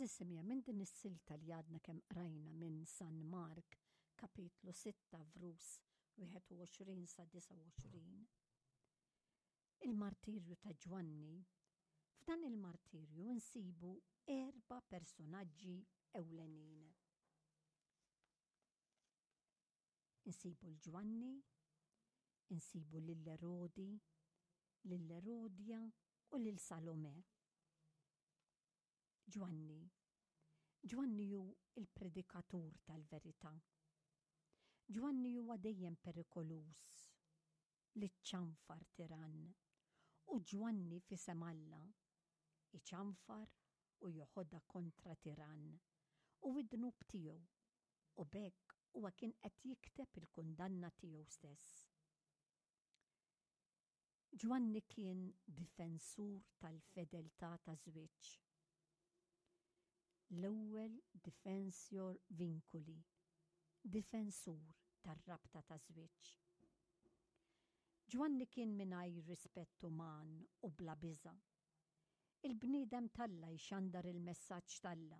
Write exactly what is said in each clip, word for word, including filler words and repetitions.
Għeżież semmiegħa, minn din is-silta li għadna kemm qrajna minn San Mark, kapitlu sitta vrus wieħed u għoxrin sa disgħa u għoxrin, il-martirju ta' Ġwanni, f'dan il-martirju nsibu erba' personaġġi ewlenin. Insibu l-Ġwanni, insibu lil Erodi, lil Erodja u lil Salome. Ġwanni. Ġwanni hu il-predikatur tal-verità. Ġwanni huwa dejjem perikoluż li ċanfar tiran u Ġwanni f'isem Alla iċanfar u joħodha kontra tiran u id-dnub tiegħu u b'hekk huwa kien qed jikteb il-kundanna tiegħu stess. Ġwanni kien difensur tal-fedeltà ta' żwieġ. L-ewwel defensor vinculi, difensur tar-rabta ta' żwieġ. Ġwanni kien mingħajr rispett uman u bla biża'. Il-bniedem t'Alla jxandar il-messaġġ t'Alla,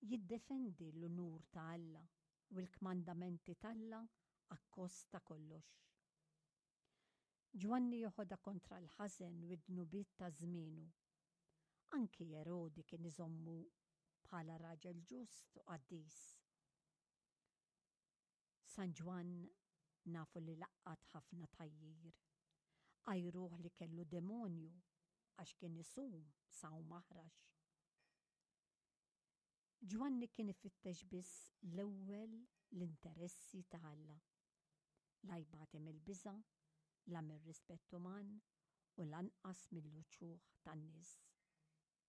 jiddefendi l-unur ta' Alla u l-kmandamenti t'Alla akkost ta' kollox. Ġwanni joħodha kontra l-ħażen u d-dnubiet ta' żmienu. Anki Erodi kien iżommu bħala raġel ġust u qaddis. San Ġwann nafu li laqqat ħafna tgħajjir. Għajruh li kellu demonju għax kien isum sawm aħrax. Ġwanni kien ifittex biss l-ewwel l-interessi ta' Alla. La jbati mill-biża', la mir-rispett uman u lanqas mill-uċuħ tan-nies.